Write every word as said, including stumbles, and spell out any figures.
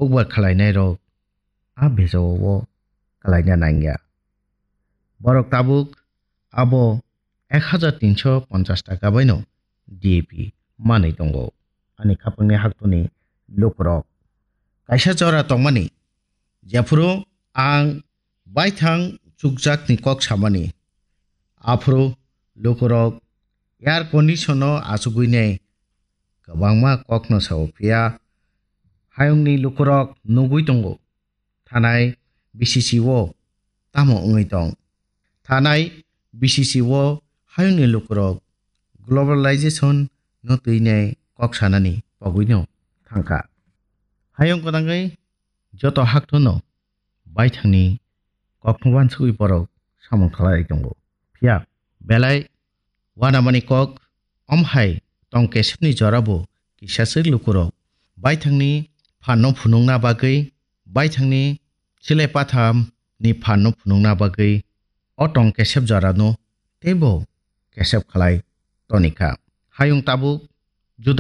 hukbar khwlainairok a bejao o kwlaina nangya. Borok tabuk abo ek hajar tinso ponchas taka baino D A P manwi tongo. Ani khapangni haktoni lukurok kaisa jora tongmani, jephuru ang baithang chukjakni kok samani, aphuru lukurok air condition-o achugwinai kwbangma kokno sao, phiya hayungni lukurok nugwi tongo. Thanai B C C o tamo wngwi tong? Thanai B C C o hayungni lukurok globalization no twinai kok sanani pogwino thangkha. Hayung kwdangwi joto haktono baithangni kokno wansugwi borok samung khlai tongo. Phiya belai uanamani kok, omhai tong kesepni jorabo kisaswk lukurok baithangni phanno phunukna bagwi, baithangni silai pathamni phanno phunukna bagwi o tong kesep jorano teibo kesep khlai tonikha. Hayung tabuk juda